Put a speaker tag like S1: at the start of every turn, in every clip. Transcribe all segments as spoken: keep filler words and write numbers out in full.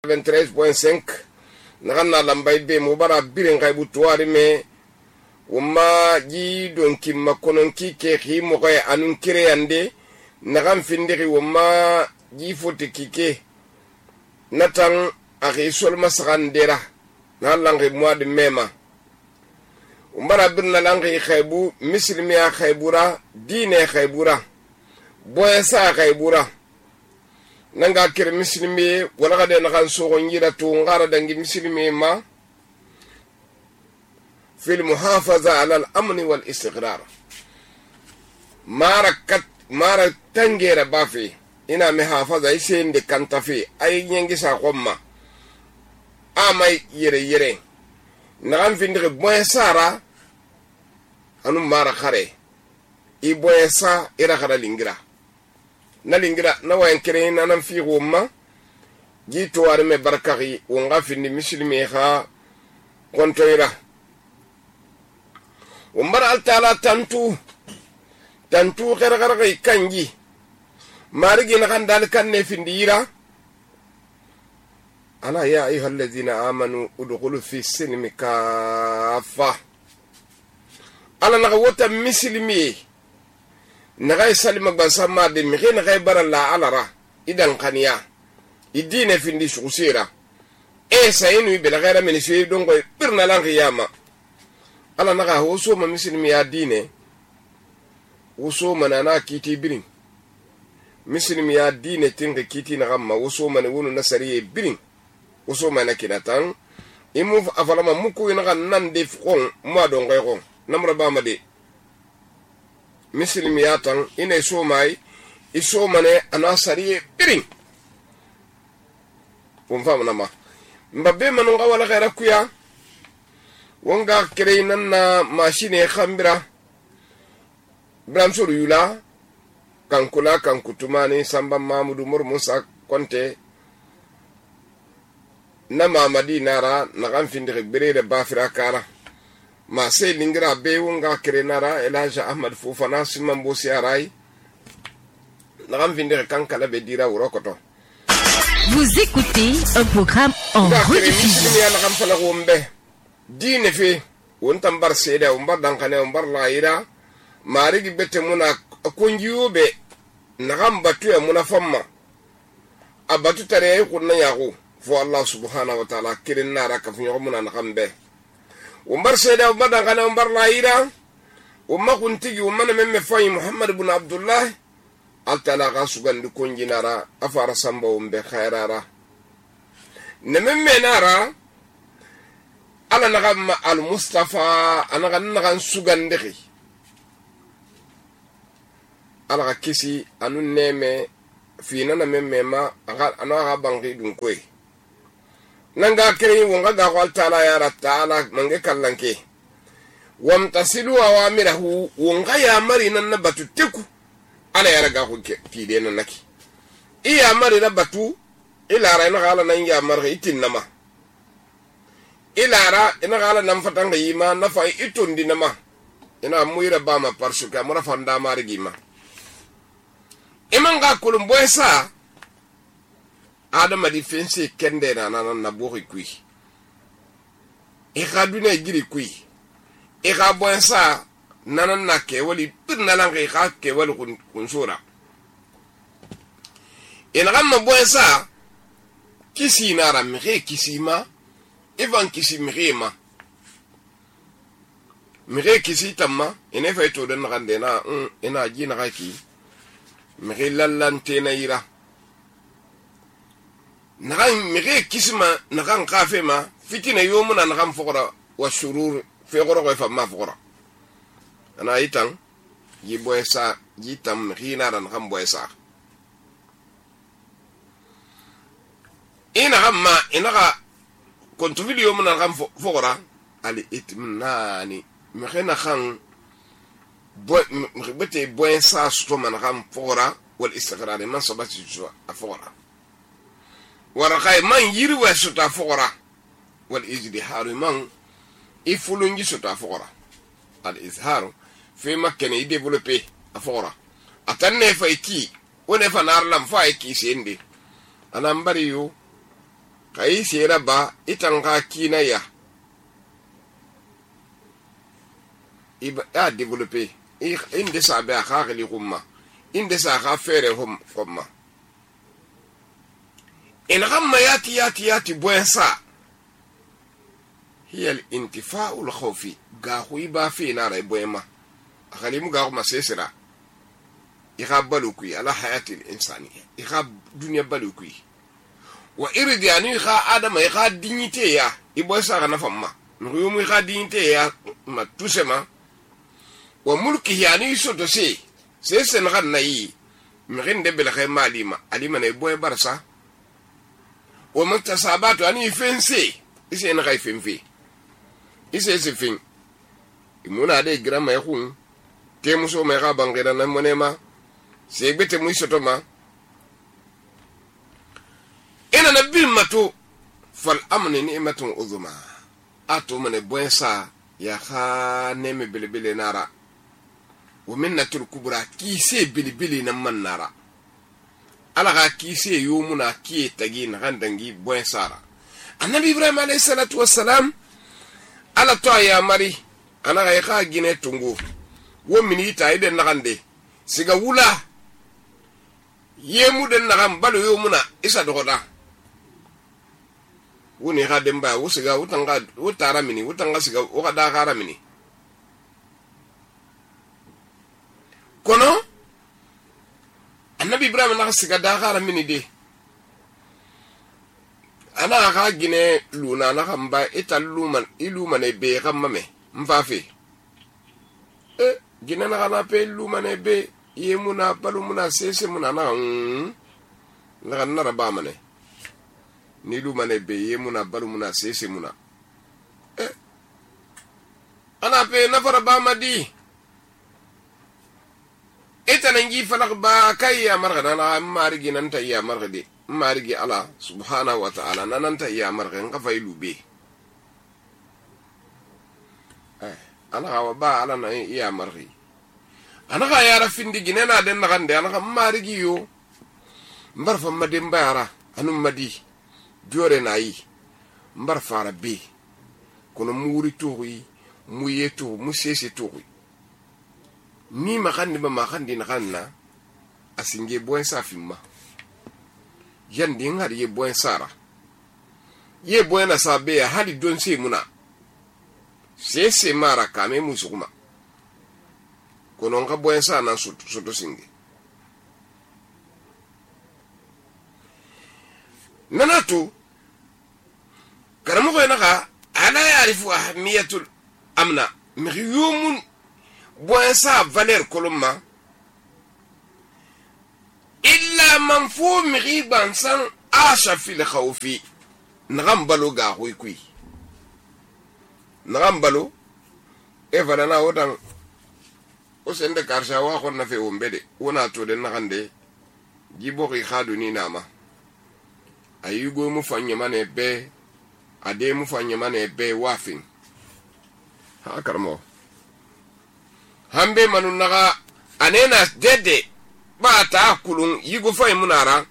S1: vingt-treize point cinq nagan na lambay be mo bara birin kaybu tuwari me wama ji donki makononki ke khi mo kay anun kireyande nagan findiri wama ji foti kike natan akhi sol masakandera na langi mois mema umbara birna langi khaybu mislimiya khaybura dine khaybura boyasa khaybura nanga kire mislimi wala gade nakan sogo ngira to ngara dangi mislimi ma fil muhafaza ala al-amn wal istiqrar mara kat mara tangera bafi ina muhafaza isende kantafi ay nyengi sa komma amay yere yere nakan findire boyasara anu mara khare i boyasa ira khara lingira na lingira na wayan kire na nan fi gomma ji to war me barkari wonga findi muslimi kha kontoira umbar al taala tantu tantu khara khara kanji marigi na kan dal kan ne findira ana ya ayyuhal ladina amanu udkhulu fi silmi kafa ala na wota muslimi nagay salima gbansa ma de mi khina khay baralla alara idan qaniya idine findi shukusira e sayinu bela ghayra min shay dongo birna lan qiyama ala naga hoso ma muslimi ya dine woso manana kiti birin muslimi ya dine tinga kiti na gamma woso man wonu nasariye birin woso man kinatan imu afalama muku ina nan de fon mo don gayro namra ba ma de muslimiyatan ina so mai iso mane anasariye birin won famna ma mbabbe manu ngawala khaira kuya wonga kreinan na machine khambira bramsuru yula kankula kankutumani samba mamudu mur musa konte na mamadi nara na ganfindire berere bafira kara ma se lingira be wonga krenara elaja ahmad fofana simman bosi arai na ganfindire kankala be dira urokoto.
S2: Vous écoutez un programme en rediffusion.
S1: Dine fi wontam bar seda umbar dankane umbar laira marigi bete muna kunjube nagam batu ya muna famma abatu tare kunna yago fo Allah subhanahu wa ta'ala kirin nara ka funyo muna nagambe umbar seda umbar dankane umbar laira umma kuntigi umma memme fay Muhammad ibn Abdullah altala ga sugan du kunji nara afara samba umbe khairara nememme nara ala nagam al Mustafa anaga nagan sugandiri ala kisi anu neme fina na memema aga anaga bangi dun koy nanga kere wonga ga wal taala ya ratala mange kallanke wamtasilu awamirahu wonga ya mari nan na batu teku ala ya raga ko kide nan naki iya mari na batu ila ra na ala nan ya mari itinama ilara ina gala nan fatanga yima na fa itundi nama ina muira bama parsuka mura fanda marigima imanga kulum boysa adama di fense kende na na na bori kui e khaduna giri kui e ga boysa nanan na ke wali birna lan ga ka ke wali kun kunsura ina gamma boysa kisi nara mi kisima Ivan kisi mirema mire kisi tamma ene fay to den rande na um ena jina raki mire lallante na ira nagan mire kisima nagan kafe ma fitina yomuna nagan fokora wa shurur fe goro ko fa ma fokora ana itan yi boysa yitam rina ran xam boysa ina gamma ina ga kontu video muna gam fogora ali itminani mkhena khan bo bete boen sa sto man gam fogora wal istiqrar man sabati jo afogora wara kay man yiri wa suta fogora wal izdihar man ifulungi suta fogora al izhar fi makkani i développer afogora atanne fayti wone fa nar lam fayti sende anam bari yo kai sera ba itan ka kina ya iba a développer inde sa ba khali humma inde sa kha fere hum humma in ghamma yati yati yati boysa hiya al-intifa'u al-khawfi ga huiba fi na rai boyma khali mu ga ma sesira ikhab balukui ala hayati al-insaniya ikhab dunya balukui wa iridi ani kha adama ikha dignité ya iboysa ga nafamma nuyumu ikha dignité ya ma tusema wa mulki yani soto se se sen kan nayi mirin de bel khay malima alima ne boy barsa wa muktasabatu ani fense ise na khay fenfe ise se fin imuna de grama yakun te muso me ga bangira na monema se gbete mu soto ma ina nabil mato fal amni ni'matun uzma ato mane boy sa ya kha neme belebele nara ومنة الكبرى كيسي بلي بلي نمان نارا على غا كيسي يومنا كي تجين غندنجي بوين سارا النبي إبراهيم عليه الصلاة والسلام على طا يا مري أنا غا يخا جيني تنغو ومني تايد نغندي سيغا ولا يمو دن نغم بلو يومنا إسا دغدا وني غا دمبا وسيغا وتنغا وتارا مني وتنغا سيغا وغدا غارا مني kono annabi ibrahim na siga da gara mini de ana ga gine luna na kamba ita luman iluma ne be kamma me mfafe e gine na kana pe luma ne be yemuna balumuna sese muna na na na raba mane ni luma ne be yemuna balumuna sese muna e ana pe na fara ba madi ita nangi falak ba kai ya marga na marigi nan ta ya marga de marigi ala subhanahu wa ta'ala nan ta ya marga nga fay lube eh ana wa ba ala na ya margi ana ga ya rafindi gine na den na gande ana marigi yo mbar fa madin bayara anu madi jore na yi mbar fara be kono muri toyi mu yeto mu sese toyi ni makandi ba makandi na kanna asinge boen safimma yandi ngar ye boen sara ye boen na sabe ya hali don se muna se se mara kame musukuma kono nga boen sa na soto soto singe nanatu karamu ko naka ala yarifu ahmiyatul amna miyumun boin sa valeur koloma illa man fu miriban san asha fil khawfi nagambalo ga hoy kui nagambalo e valana wodan o sende karsha wa khonna fe wombede wona to de nagande jibo ri khadu ni nama ayugo mu fanya mane be ade mu fanya mane be wafin ha karmo hambe manu naga anena dede ba ta kulun yigo fay munara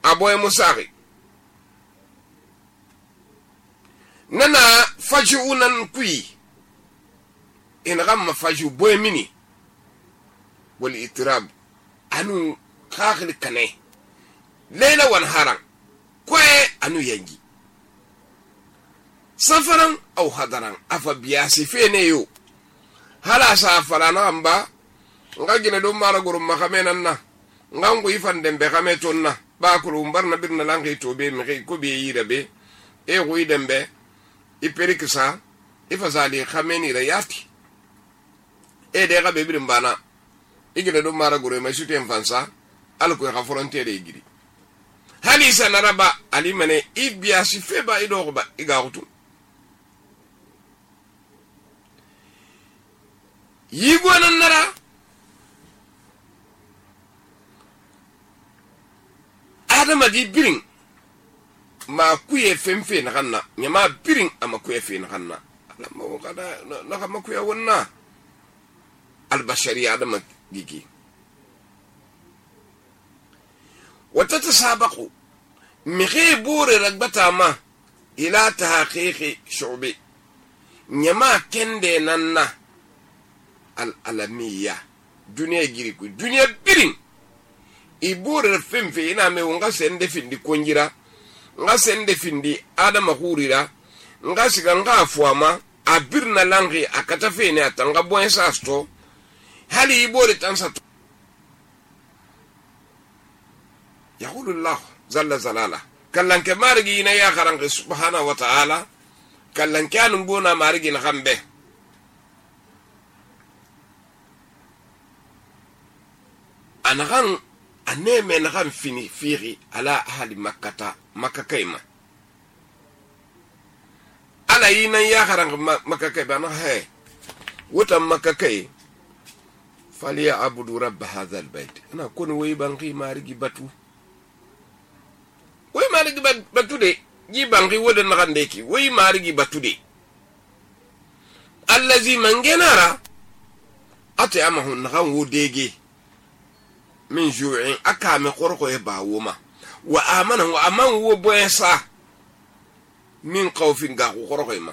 S1: aboy musari nana faju unan kui in gamma faju boy mini wal itirab anu khakhli kane lela wan haran kwe anu yangi safaran au hadaran afa biyasi fene yo hala sa falana amba nga gine do mara gurum makamenan na nga ngu ifan dembe kameton na ba kulu mbarna birna langi to be mi ko be yira be e ruyi dembe iperikisa ifazali khameni ra yati e de ga be birim bana igine do mara gurum ma shute mfansa al ko ga frontiere igiri hali sa naraba ali mane ibia si feba ido ba igarutu yigo nan nara adama di birin ma kuye femfe na kanna nyama birin ama kuye fe na kanna alama wakada na kama kuye wonna albashari adama gigi watatasabaku mixi bore ragbata ma ila tahqiqi shu'bi nyama kende nanna al alamiya duniya giri ku duniya birin ibore femfe ina me wonga sende findi konjira nga sende findi adama hurira nga siga nga afuama abirna langi akata fene atanga boensa sto hali ibore tansa yaqulu Allah zalla zalala kallanke marigi ina ya kharange subhanahu wa ta'ala kallanke anu bona marigi na khambe anagan aneme na kham fini firi ala ahli makkata makakaima ala ina ya kharange makakai bana he wota makakai faliya abudu rabb hadha albayt ana kun way banqi marigi batu way marigi batude ji bangi wodan nakandeki way marigi batude allazi mangenara ate amahu nakan wodege min ju'in akame qorqo e bawoma wa amana wa aman wo boysa min khawfin ga qorqo ma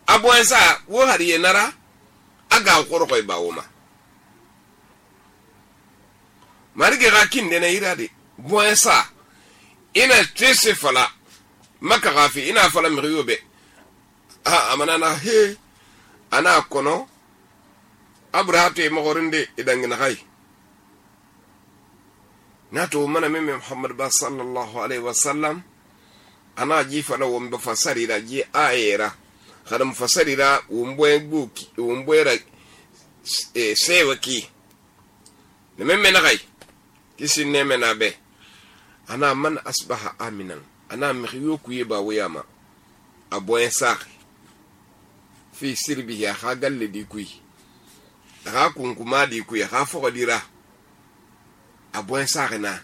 S1: aboysa wo hariye nara aga qorqo e bawoma marigi rakin de na irade boysa ina tese fala maka gafi ina fala miriyobe ha amana na he ana kono abrahate magorinde idangina hay nato mana meme Muhammad ba sallallahu alaihi wasallam ana ji fala wo mba fasari da ji ayera kada mufasari da wombwe buki wombwe ra e sewaki ne meme na hay kisi neme na be ana man asbaha aminan ana miyo kuye ba wayama aboyen saki fi sirbi ya hagalle di kuyi daga kunkuma di kuyi ha fo dira aboyen saki na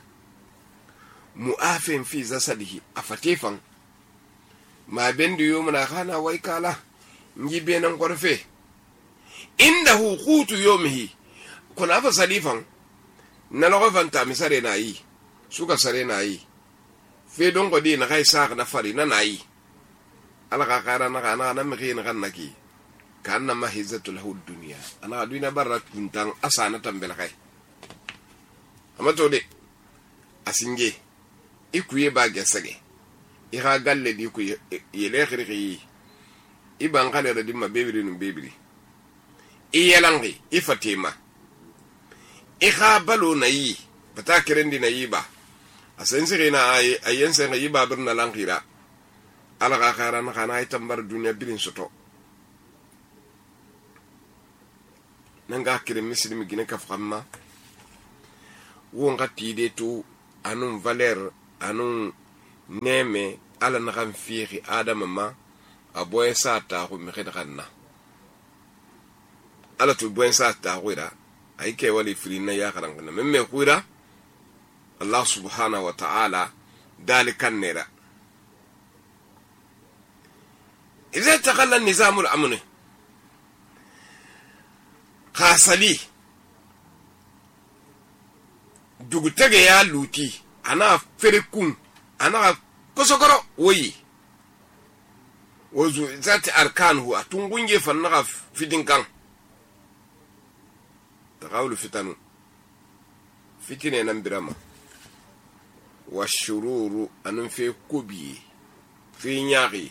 S1: muafin fi zasadihi afatifan ma bendu yomna khana wai kala njibe nan korfe inda huqutu yawmihi kuna fa salifan na lawa fanta misare na yi suka sare na yi fe don ko di na kai sa na fari na nayi ala ka kara na kana na miki na kan naki kana mahizatul hud dunya ana duina barat kuntan asana tambel kai amato de asinge ikuye ba gesage i ha galle di ku yele khiri i ban kale da dimma bebiri num bebiri i yelangi i fatima i ha balo nayi bata kirendi nayi ba asensi na ay ayense ngi babir na langira ala ga khara na kana ay tambar dunya bilin soto nanga kire muslimi gine ka famma wo ngati de to anun valeur anun neme ala na kan fiiri adama ma aboy sata ko mi khidkhanna ala tu boy sata ko ira ay ke wali frina ya kharan na memme ko ira Allah subhanahu wa ta'ala dalikan nera إذا تقل النظام الأمني خاصلي دوغتغي يا لوتي أنا فريكون أنا كسكرو وي وزو ذات أركان هو تنغنجي فنغا في دينكان تقاول فتنو فتنة نمبرما والشرور أنم في كوبي في نياغي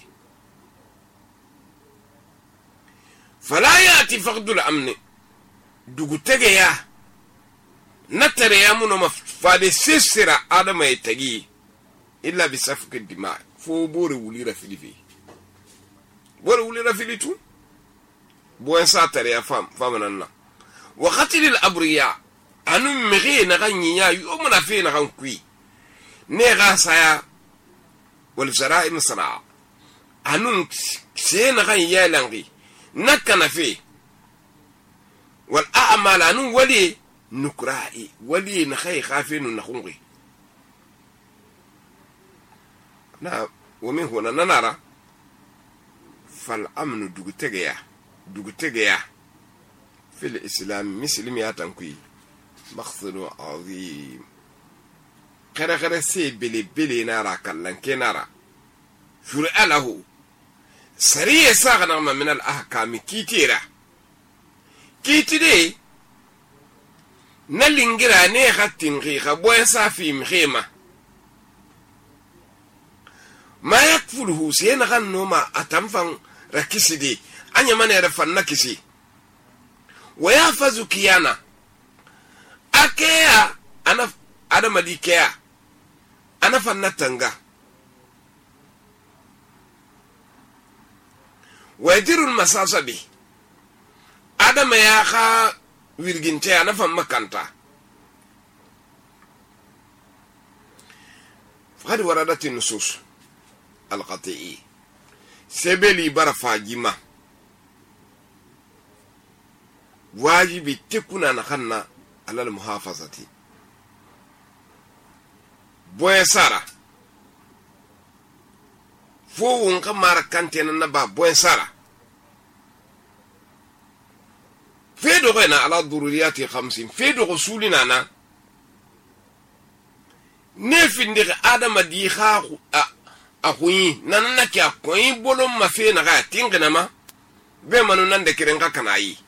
S1: فلا يأتي فقد الأمن دوغتغي يا نتري يا منو مفادي سيسرا آدم يتغي إلا بسفك الدماء فو بوري ولي رفلي فيه بوري ولي رفلي تو بوين ساتر يا فام فامنا وقتل الأبرياء أنو مغي نغني يا يومنا فيه نغنكوي نغا سايا والفزراء مصنع أنو سينا غني يا لنغي نكنا فيه والأعمال أنو ولي نكرائي ولي نخي خافين نخونغي نا ومن هنا نرى فالأمن دوغتغيا دوغتغيا في الإسلام مسلم ياتنكوي مخزن عظيم khere khere se bele bele nara kallan kenara shur'a lahu sariya saghana min al ahkam kitira kitide na lingira ne khatin ghi khaboy safi mkhima ma yakfuluhu sena ganno ma atamfan rakisidi anya mane rafan nakisi wa yafazu kiyana akeya ana adama dikeya ana fannatanga wadirul masasabi adama ya kha wirginte ana fan makanta faqad waradat an-nusus al-qati'i sebeli barafa jima wajibi tekuna na khanna ala al-muhafazati boy sara fo won kamara kantena na ba boy sara fedo gena ala dururiyati khamsin fedo rasulina na ne finde adama di kha a khuyi nan na kya koyi bolon ma fe na ga tingina ma be manu nan de kiren ka kanayi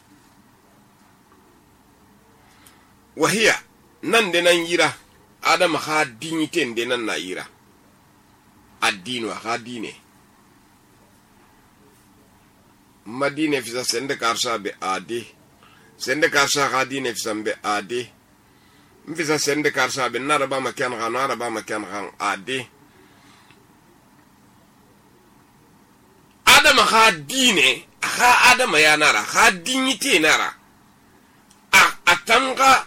S1: wahiya nan de nan yira adama kha dignité de nan na yira addinu kha dine madine fi sende karsa be ade sende karsa kha dine fi sambe ade mfisa sende karsa be naraba makan kha naraba makan kha ade adama kha dine kha adama ya nara kha dignité nara a atanga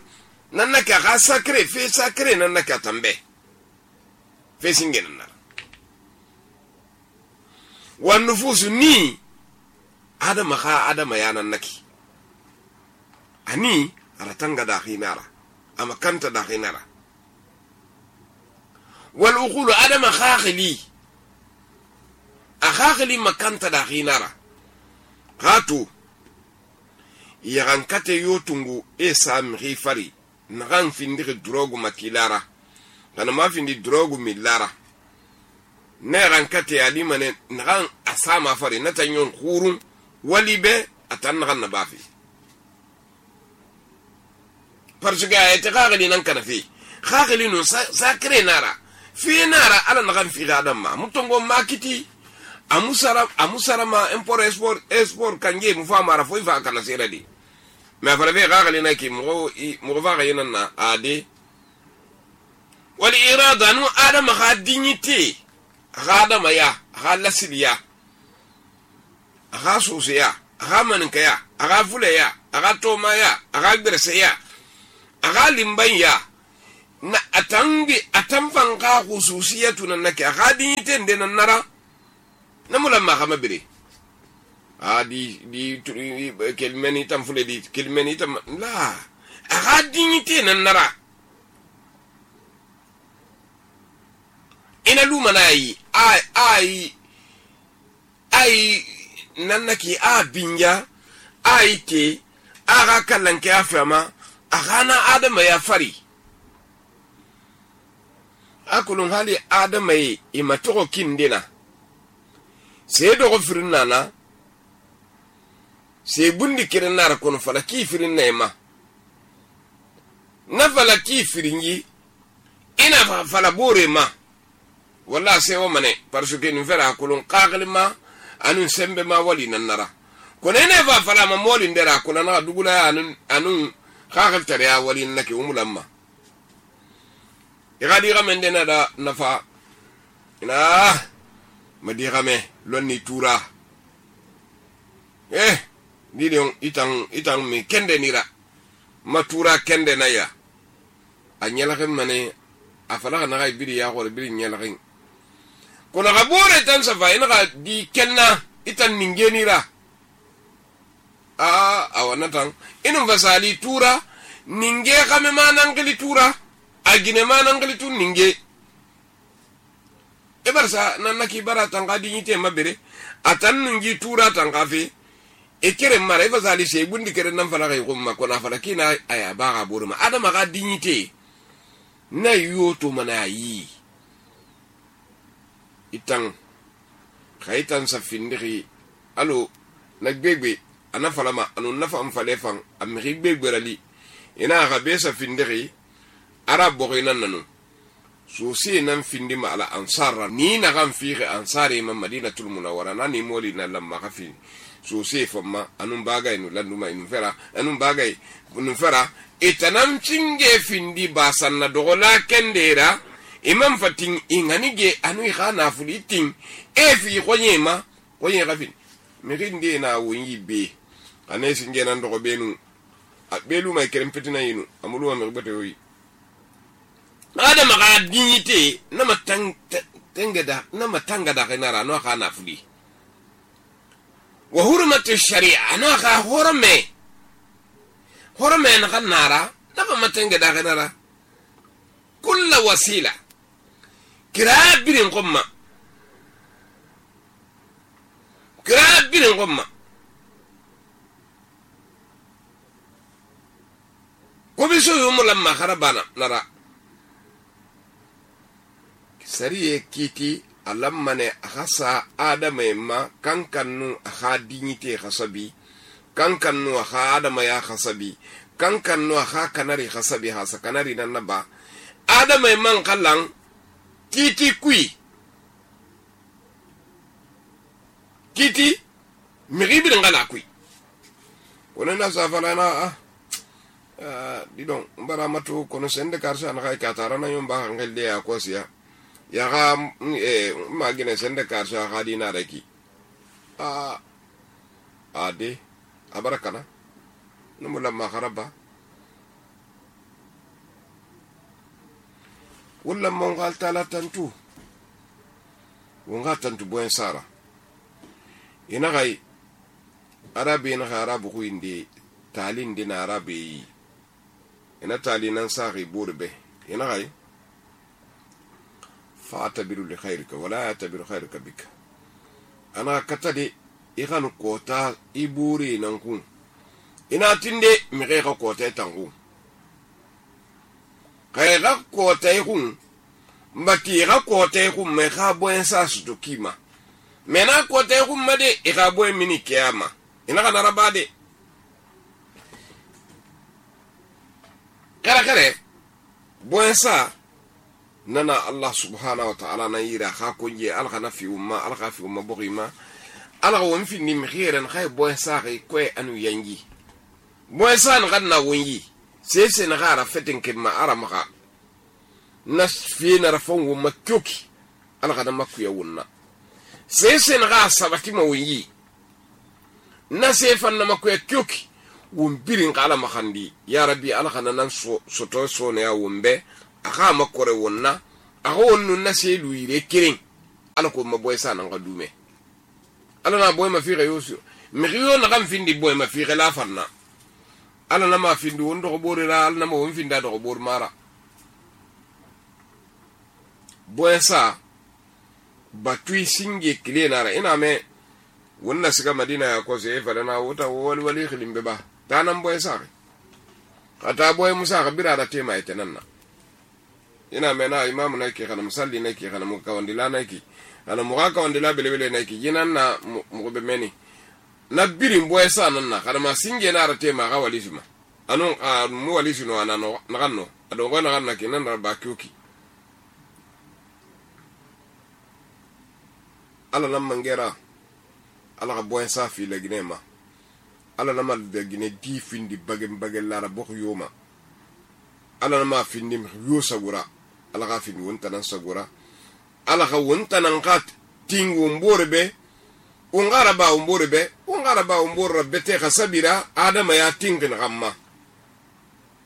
S1: nanaka kha sacré fe sacré nanaka tambe fe singen nara wan nufusu ni adama kha adama ya nanaki ani aratanga da khinara ama kanta da khinara wal uqulu adama khakhili akhakhili makanta da khinara hatu yagankate yotungu esa mrifari nagan findi drogu makilara kana ma findi drogu milara ne rankate alimane nagan asama fari natanyon khurun walibe atan nagan nabafi parsuga ete khagli nan kana fi khagli no sakre nara fi nara ala nagan fi gadamma mutongo makiti amusara amusara ma import export export kanje mu fa mara foi fa kana seradi ma fara be khagli na ki mo mo fa ga yinna ade wal irada nu adam kha dignité khadama ya khalasiliya kha susiya kha mankaya kha fulaya kha tomaya kha gbersaya kha limbanya na atangi atamfan kha khususiyatu nanaka kha dignité ndenan nara namula ma khama bire adi di kelmeni tam fule di kelmeni tam la kha dignité nan nara ina lumanai ai ai ai nanaki a binya ai te aga kallanke afama agana adama ya fari akulun hali adama yi imatoko kindina se dogo firin nana se bundi kirin nara kono falaki firin naima na falaki firin yi ina falabore ma wala se o mane parce que nous fera akulun qaglima anun sembe ma wali nanara kono ne va fala ma moli ndera kono na dugula anun anun khagel tare ya wali nake umulamma igadi gamende na da nafa ina madi game lonni tura eh dilion itang itang mi kende nira matura kende na ya anyala kem mane afala na ga biri ya ko biri nyala ken kono ga bore tan safa ina ga di kenna itan ningenira a awana tan inu vasali tura ninge kame manangli tura agine manangli tu ninge e barsa nanaki barata ngadi nyite mabere atan ningi tura tangafi e kere mara e vasali se bundi kere nan fala ga yumma kono fala kina aya baga burma adama ga dignité na yoto mana yi itan khaitan sa findiri alo na gbegbe ana falama anu nafa am falefan am gbegbe rali ina ga be sa findiri arab boginan nanu so se nan findi ma ala ansara ni na gan fiire ansari ma madinatul munawwara nani moli na lamma khafi so se famma anun bagay no landuma inu fera anun bagay nu fera itanam cinge findi basanna dogola kendera imam fatin inganige anu khana fulitin e fi khonyema khoye khafin mirinde na wonyi be anesi ngena ndogo benu abelu mai kerem petina yinu amulu wa merbate yoyi ada maga dignité na matang tengeda na matanga da kenara no khana fuli wa hurmatu sharia no kha horme horme na khanara na matanga da kenara kullu wasila kirabirin qomma kirabirin qomma ko biso yumu lamma kharabana nara sariye kiti alammane akhasa adama ma kankannu akha dignité khasabi kankannu akha adama ya khasabi kankannu akha kanari khasabi hasa kanari nan naba adama man kallan kiti kui kiti miribi ngala kui wona na safala na ah uh, didon mbara matu kono sende karsa na kai katara na yomba ngelde ya kosia ya ga eh magine sende karsa hadina raki a ade abarakana numula magharaba wala mongal tala tantu wonga tantu boen sara ina gai arabi na arabu ku indi talin dina arabi ina talinan sari burbe ina gai fa'tabiru li khairika wala ya'tabiru khairuka bika ana katade iganu kota iburi nan kun ina tinde mi kai ka kota tangu kai ga kota kun mbati ga kota kun me ga boen sa su kima mena kota kun made e ga boen mini kiyama ina kana rabade kare kare boen sa nana Allah subhanahu wa ta'ala na yira kha kunje al khana fi umma al kha fi umma boghima ala won fi ni mkhiran khay boy saxi koy anu yangi boy san ganna wonyi sese na gara feten ke ma ara maka nas fi na rafon wo makyoki ala khana makku ya wonna sese na ga sabati ma wonyi na sefan na makku ya kyoki won birin kala makhandi ya rabbi ala khana nan so soto so ne ya wombe aka makore wonna aka wonnu na selu yire kirin ala ko maboy sana nga dume ala na boy ma fi reyosu mi riyo na kam findi boy ma fi la farna ala na ma findi wondo ko bore la ala na ma won finda do ko bor mara boy sa batui singe kile nara ina me wonna siga madina ya ko se fa na wota wali wali khilimbe ba tanan boy sa kata boy musa kabira da tema etenanna ina mena imamu nake kana musalli nake kana mukawandila nake ana mugaka wandila belebele nake yinan na mugbe meni na birin boy sanan na kana masinge na rate ma ga walisima anu mu walisino ana no naganno ado ngona ganna kinan da bakyuki ala nam mangera ala ga boy safi le ginema ala namal de gine di findi bagem bagel la bokh yoma ala nama findi yo sagura ala ga findi wonta nan sagura ala ga wonta nan kat tingu mborbe ungara ba mborbe ungara ba mborbe te khasabira adama ya tingin gamma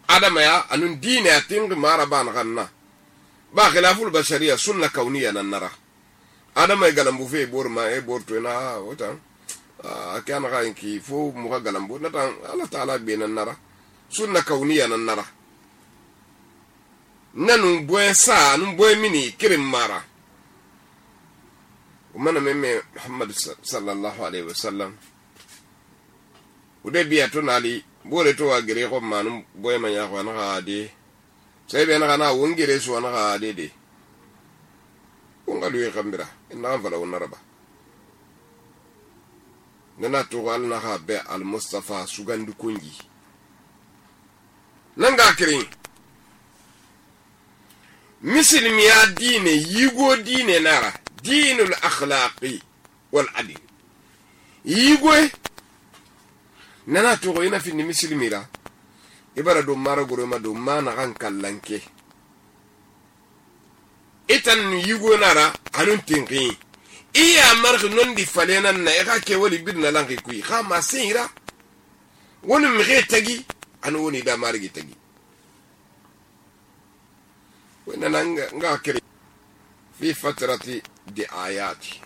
S1: adama ya anun dine ya tingin maraba na ganna ba khilaful bashariya sunna kauniya nan nara adama galambu fe borma e borto na wota akana ga inki fo mu ga galambu na tan Allah taala be nan nara sunna kauniya nan nara nanu boy sa nu boy mini kirim mara umana meme Muhammad sallallahu alaihi wasallam ude biya to nali bore to wa gere ko manu boy manya ko na ade sai be na kana wongere so na ga dede wongalu e kambira na fala wonaraba nana to al na ha be al mustafa sugandu kungi nanga kirin misilmiya dine yigo dine nara dinul akhlaqi wal adl yigo nana to ina finni misilmira ibara do mara goro ma do mana kan kallanke itan yigo nara anun tinqi iya marx non di falena na e ka ke wali birna lanki kuyi kha ma sira woni mi xe tagi an woni da margi tagi wona nanga nga kire fi fatrati di ayati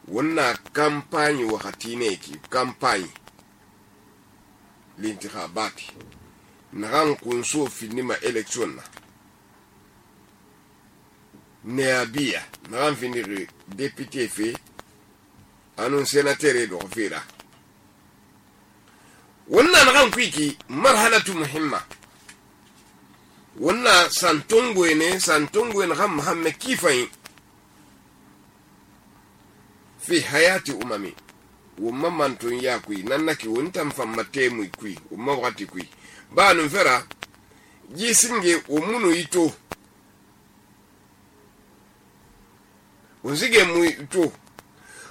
S1: wonna campagne wakati ne ki campagne l'intikhabati naran kunso finima election na neabia naran finiri député fe anun sénateur do fira wonna naran kwiki marhalatu muhimma wonna santongo ne santongo ne ham hamme kifai fi hayati umami wumma mantun ya kui nannaki wontam famma temu kui umma wakati kui ba nun fera jisinge umunu ito wonzige mu ito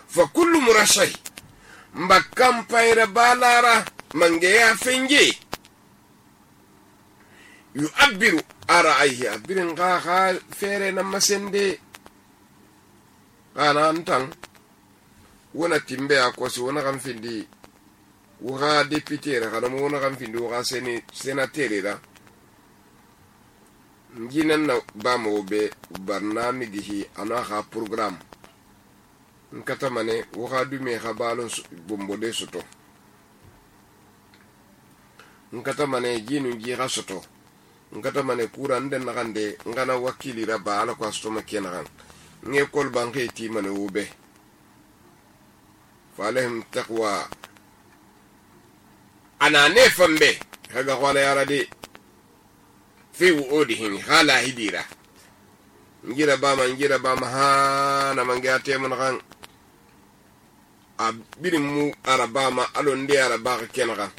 S1: fa kullu murashai mba kampaira balara mange ya fenge yu'abbiru ara'ayhi abirin ga ga fere na masende kana antan wona timbe akosi wona kan findi wona député ra kana wona kan findi wona seni sénateur ra nginan na ba mo be barnamiji ana ha programme nkata mane wona dume ha balon bombode soto nkata mane jinu ji ha soto nkata mane kura nden na kande ngana wakili ra ba ala ko astoma kenan nge kol banke ti mane ube falahim taqwa ana nefan be kaga wala yara de fi wuudihim hala hidira ngira ba man ngira ba ma ha na manga temun kan abirin mu araba ma alon de araba kenan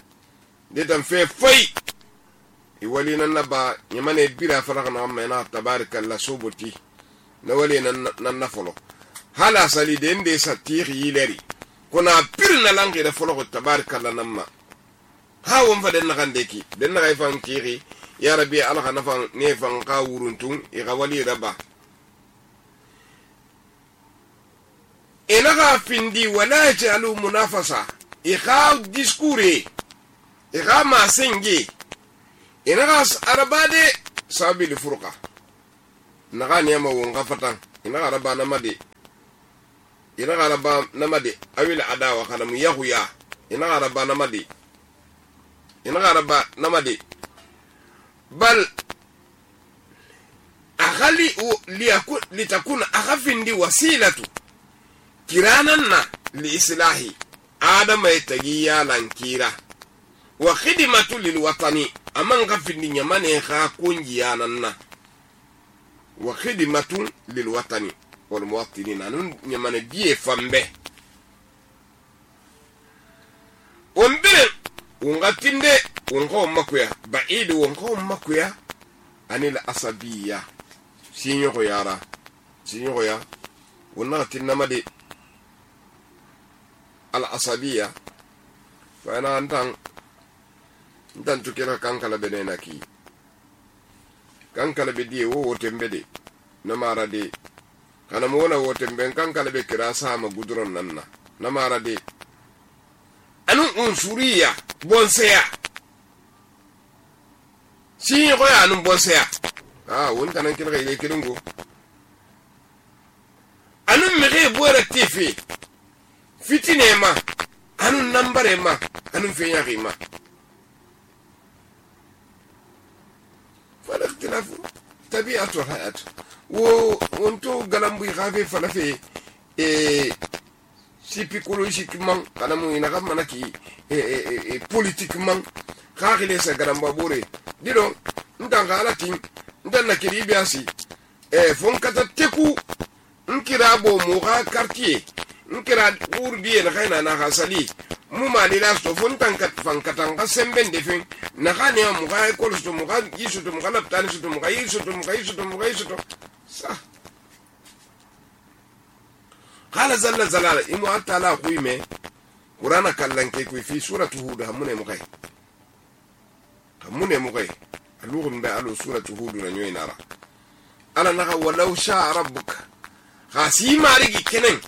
S1: de tan fe fai i wali nan naba nyamane bira faraka na ma na tabarakallah suboti na wali nan nan nafolo hala sali de inde satiri yileri kuna pirna langi da folo tabarakallah namma ha won fa den na kan deki den na fan kiri ya rabbi alha nafan ne fan ka wuruntun i ga wali raba ina ga findi wala jalu munafasa i ga diskure i ga ma sengi ina ga arabade sabil furqa naga ne ma won ga fatan ina ga araba na made ina ga araba na made awil adawa kana mu yahuya ina ga araba na made ina ga araba na made bal akhali liyakun litakuna akhafindi wasilatu kirananna li islahi adama yatagiya lankira wa khidmatu lil watani aman khafindi nyamane kha kunjiyananna wa khidmatu lil watani wal muwattinin anun nyamane die fambe ombere ungatinde wonko makuya baidi wonko makuya anil asabiya sinyo ko yara sinyo ko ya wonna tinamade al asabiya fa ana antan ndan tukira kankala benena ki kankala be die wo wotembe de na mara de kana mo wona wotembe kankala be kira sama gudron nanna na mara de anu unsuriya bonseya si ko ya anu bonseya ah won tanan kin ga ile kiringo anu mege bora tifi fitine ma anu nambare ma anu fenya rima fala ikhtilafu tabi'atu hayat wo wonto galambu khafe fala fe e si psychologiquement kana mu ina ga manaki e e politiquement khagile sa garamba bore dido ndan halatin ndan na kiri biasi e fon kata teku nkira bo mu ga quartier nkira urdiye na kaina na hasali mu mali la sto fon tan kat fan katan ga semben de fin na khani mu ga ko sto mu ga yisu to mu ga laptani sto mu ga yisu to mu ga yisu to mu ga yisu to sa qala zalla zalala imu atala khuime qur'ana kallan ke ku fi suratu hud hamune mu kai hamune mu kai alugun ba alu suratu hud na nyoy nara ala naga walau sha rabbuka khasi marigi kenen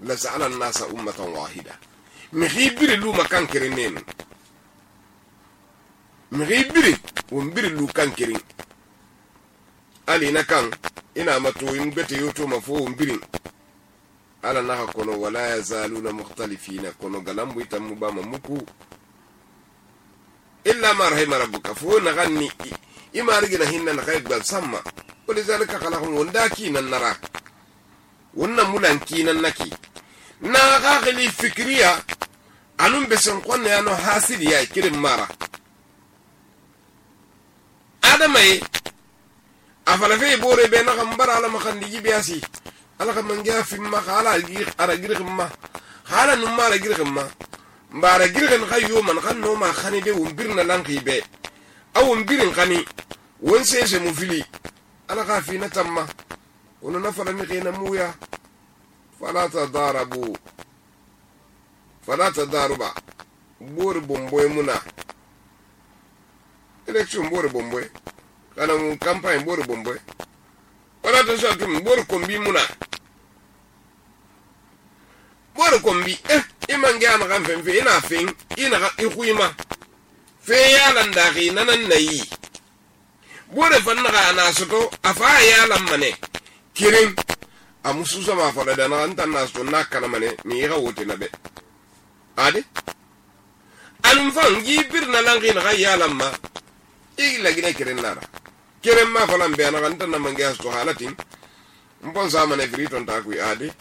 S1: la sa'ala an-nasa ummatan wahida mihibiri lu makan kirin nen mihibiri wumbiri lu kan kirin ali na kan ina mato in bete yoto mafo wumbiri ala na kono wala yazaluna mukhtalifina kono galambu itamu ba mamuku illa ma rahima rabbuka fo na ganni imarigi na hinna na kay gbal samma walizalika khalaqum wandaki nan nara wannan mulanki nan naki na gagli fikriya anun besen kwanne yano hasidi ya kirin mara adamai afalafe bore be na kambara ala makandi jibiasi ala kamangia fimma khala gir ara girgma khala numma ara girgma mbara girgan khayo man khanno ma khani de wumbirna lanki be aw wumbirin khani won sese mu fili ala khafina tamma wono nafala mi khina muya fala tadarabu fala tadaruba bor bomboy muna election bor bomboy kana mu campagne bor bomboy wala to sa tum bor kombi muna bor kombi eh iman ga na kan fen fe ina fen ina ga ikuima fe ya lan da gi nanan nayi bor fan na na soto afa ya lan mane kirin amusu sama fala da na antan na so na kana mane mi ga wote na be ade anum fan gi birna lan gi na ya lan ma igla gine kirin nara kirin ma falan be na antan na mangi so halatin mbon sama ne friton ta ku ade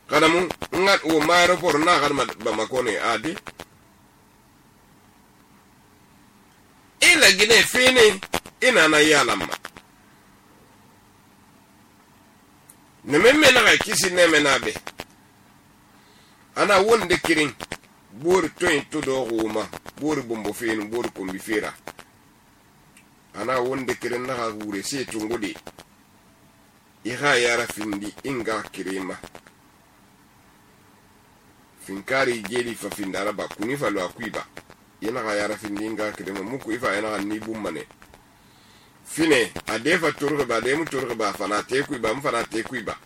S1: kadamu ngat o mayro por na garma ba makone ade ila gine fene ina na ya lan ma ne memme na ga kisi ne menabe ana wonde kirin bor toyin to do roma bor bombo fen bor kombi fera ana wonde kirin na ga gure se tungudi iha yara findi inga kirima finkari jeli fa findara ba kuni fa lo akuiba yana ga yara findi inga kirima muku ifa yana ni bummane fine adefa turga ba de mu turga ba fana te ku ba mu fana te ku ba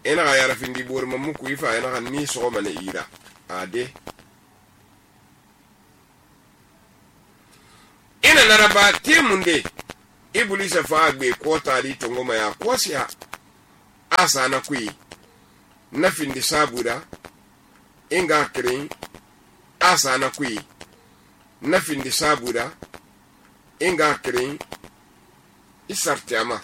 S1: ena ga yara findi bor mamu ku ifa ena ni so mane ira ade ena naraba te munde ibulisa fa gbe ko tari to ngoma ya kosia asa na ku na findi sabuda inga krin asa na ku na findi sabuda inga krin isartama